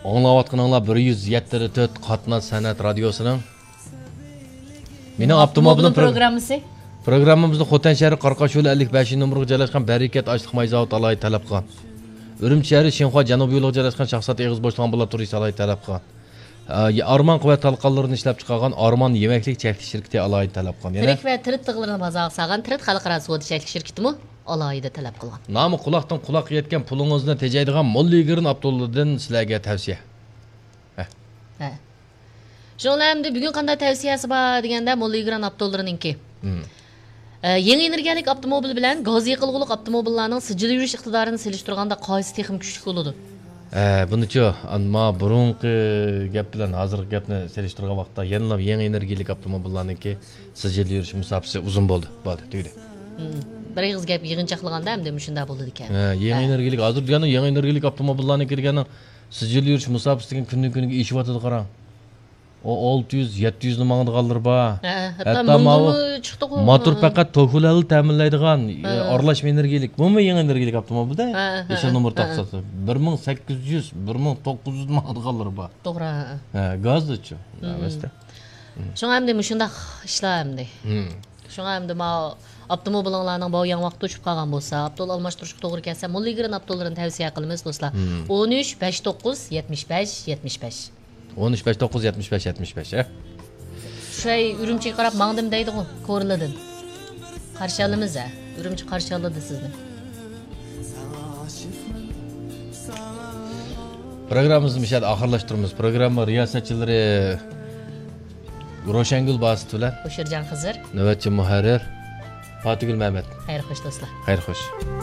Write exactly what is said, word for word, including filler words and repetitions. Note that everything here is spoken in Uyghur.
ئاڭلاۋاتقىنىڭلار بىر يۈز يەتتە تۆت قاتناش سەنئەت رادىيوسىنىڭ مېنىڭ ئاپتوموبىلىم پرو-، پروگراممىسى. پروگراممىمىزنى خوتەن شەھىرى قارقاش يولى ئەللىك بەشىنچى نومۇرغا جايلاشقان بەرىكەت ئاشلىق ماي زاۋۇتى ئالاھىدە تەلەپ قىلغان. ئۈرۈمچى شەھىرى شىنخۇا جەنۇبىي يولىغا جايلاشقان شاخسات ئېغىز بوشلۇق ئامبۇلاتورىيىسى ئالاھىدە تەلەپ قىلغان. ئە، ئارمان قۇۋۋەت تالقانلىرىنى ئىشلەپچىقارغان ئارمان يېمەكلىك چەكلىك شىركىتى ئالاھىدە تەلەپ قىلغان. يەنە تىرىك ۋە تىرىت تىغلىرىنى بازارغا سالغان تىرىت خەلقئارا سودا چەكلىك شىركىتىمۇ ئالاھىدە تەلەپ قىلغان. نامى قۇلاقتىن قۇلاققا يەتكەن پۇلىڭىزنى تېجەيدىغان موللىگرىن ئاپتولىرىدىن سىلەرگە تەۋسىيە. ھە. ھە. شۇڭا ئەمدى بۈگۈن قانداق تەۋسىيەسى بار دېگەندە، موللىگرىن ئاپتولىرىنىڭكى. مم. ئە، يېڭى ئېنېرگىيەلىك ئاپتوموبىل بىلەن گاز يېقىلغۇلۇق ئاپتوموبىللارنىڭ سىجىل يۈرۈش ئىقتىدارىنى سېلىشتۇرغاندا قايسى تېخىمۇ كۈچلۈك بولىدۇ؟ ھە، بۇنىچۇ، ئەمما بۇرۇنقى گەپ بىلەن ھازىرقى گەپنى سېلىشتۇرغان ۋاقىتتا يەنىلا يېڭى ئېنېرگىيەلىك ئاپتوموبىللارنىڭكى سىجىل يۈرۈش مۇساپىسى ئۇزۇن بولدى. بولدى، تۈگىدى. مم. بىر ئېغىز گەپ يىغىنچاقلىغاندا ئەمدى مۇشۇنداق بولىدىكەن. ھە، يېڭى ھە. ئېنېرگىيەلىك، ھازىر دېگەن يېڭى ئېنېرگىيەلىك ئاپتوموبىللارنىڭكى دېگەننىڭ سىجىل يۈرۈش مۇساپىسى دېگەن كۈندىن كۈنگە ئېشىۋاتىدۇ، قاراڭ. ئۇ ئالتە يۈز، يەتتە يۈزنى ماڭىدىغانلىرى بار. ھە، ھەتتا ھەتتا ماۋۇ مىڭدىنمۇ چىقتىغۇ. ماتور ھە. پەقەت توفۇلەنلا تەمىنلەيدىغان، ھە. ئارىلاش ئېنېرگىيەلىك. بۇمۇ يېڭى ئېنېرگىيەلىك ئاپتوموبىلدا. ھە، ھە، يېشىل ھە، نومۇر ھە، ھە. تاقىسا. بىر مىڭ سەككىز يۈز، بىر مىڭ توققۇز يۈز ماڭىدىغانلىرى بار. توغرا، ھە، ھە. ھە، گازدىچۇ. مم. ئەمەستە. شۇڭا ئەمدى مۇشۇنداق ئىشلار ئەمدى. مم. شۇڭا ئەمدى ماۋۇ ئاپتوموبىلىڭلارنىڭ بۇ يېڭى ۋاقىتتا ئۇچۇپ قالغان بولسا، ئاپتول ئالماشتۇرۇشقا توغرا كەلسە، موللىگرىن ئاپتوللىرىنى تەۋسىيە قىلىمىز، دوستلار. مم. ئون ئۈچ، بەش توققۇز، يەتمىش بەش، يەتمىش بەش. ئون ئۈچ، بەش توققۇز، يەتمىش بەش، يەتمىش بەش، ھە؟ شۇ ئۈرۈمچىگە قاراپ ماڭدىم دەيدىغۇ، كورلىدىن. قارشى ئالىمىز، ھە؟ ئۈرۈمچى قارشى ئالىدۇ سىزنى. پروگراممىمىزنى مۇشۇ يەردە ئاخىرلاشتۇرىمىز. پروگرامما رىياسەتچىلىرى روشەنگۈل باسىت بىلەن ھوشۇرجان خىزىر. نۆۋەتچى مۇھەررىر پاتىگۈل مەمەت. خەير خوش، دوستلار. خەير خوش.